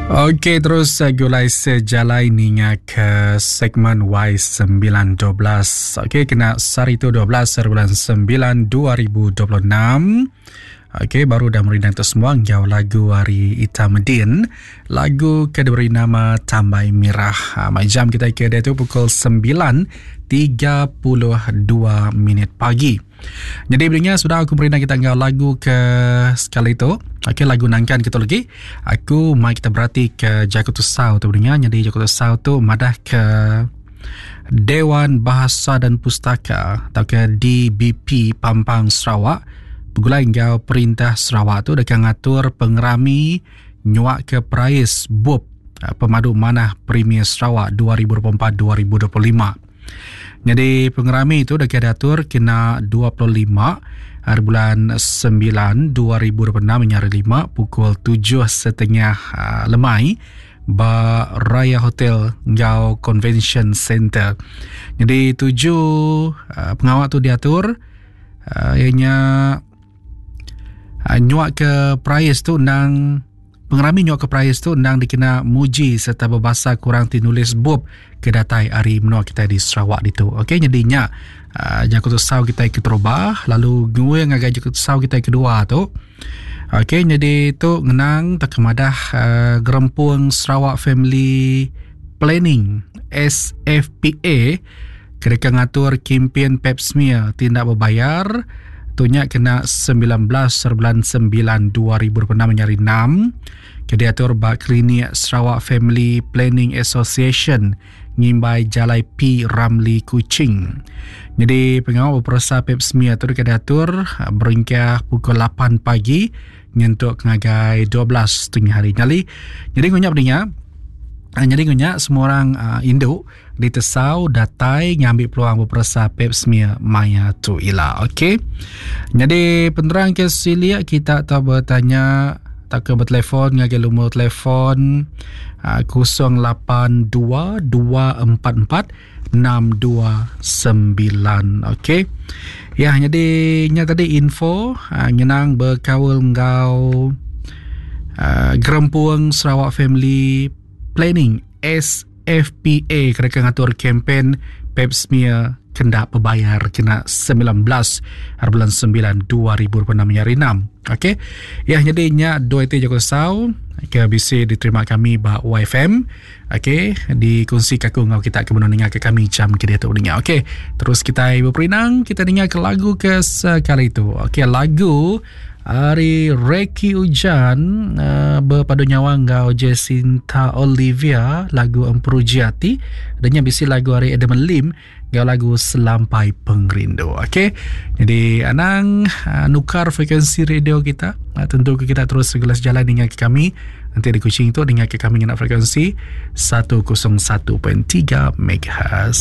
Okey terus gulai sejalai ninga ke segmen Y912. Okey kena sehari tu 12 hari bulan 9 2026. Okey baru dah merindang tu semua enggau lagu hari Ita Medin. Lagu ke diberi nama Tambai Mirah. Ha, jam kita ke dia tu pukul 9.32 minit pagi. Jadi beringat sudah aku beri kita enggau lagu ke sekali tu. Okey lagu nangkan kita lagi. Aku mai kita berati ke jaku tusau tu beringat. Jadi jaku tusau tu madah ke Dewan Bahasa dan Pustaka atau ke DBP Pampang Sarawak begulai enggau Perintah Sarawak tu deka ngatur pengerami nyuak ke perais bup eh, Pemadu Manah Premier Sarawak 2024-2025. Nyadi pengerami tu deka diatur kena 25 hari bulan 9 2026 nya hari lima pukul 7.30 ah, lemai ba Raya Hotel enggau Convention Center. Jadi tuju ah, pengawa tu diatur ah, iya nya nyuak ke perais tu endang Pengerami nyuaka perais tu endang dikena muji sereta bebasa ke orang ti nulis bup ke datai ari menua kitai di Sarawak ditu. Okey nyadi nya uh, jaku tusau kitai keterubah lalu nguing ngagai jaku tusau kitai kedua tu. Okey nyadi tu ngenang tauka madah uh, gerempung Sarawak Family Planning SFPA ke deka ngatur kimpin pap smear ti enda bebayar tu nya kena 19 bulan 9 2026 nya hari enam ke diatur ba Klinik Sarawak Family Planning Association ngimbai Jalai P Ramlee Kuching. Nyadi pengawa beperesa pap smear tu deka diatur berengkah pukul 8 pagi nyentuk ngagai 12 tengah hari. Nyadi nyadi ngunya peninga nyadi ngunya semua orang indu Ditesau datai ngambi peluang beperesa pap smear maya tu ila. Okey. Nyadi penerang ke silik kita tau betanya tauka betelefon ngagai lumur telefon 082 244 629. Okey. Ya, nyadi nya tadi info uh, ngenang bekaul enggau uh, Gerempung Sarawak Family Planning S FPA kereka ngatur kempen pap smear kenda bebayar kena 19 hari bulan 9 2026 hari 6. Okey. Ya jadi nya dua iti jaku sau ke bisi diterima kami ba YFM. Okey, dikongsi ke aku enggau kita ke benung ninga ke kami jam ke diatu ninga. Okey, terus kita beperinang, kita ninga ke lagu ke sekali tu. Okey, lagu Ari Reki Ujan uh, berpadu nyawa enggau Jacinta Olivia lagu Emperuji Ati dan nya bisi lagu ari Adam Lim enggau lagu Selampai Pengerindu. Okey. Jadi anang uh, nukar frekuensi radio kita. Uh, tentu ke kita terus segelas jalan dengan ke kami. Nanti di Kuching tu dengar ke kami ngena frekuensi 101.3 MHz.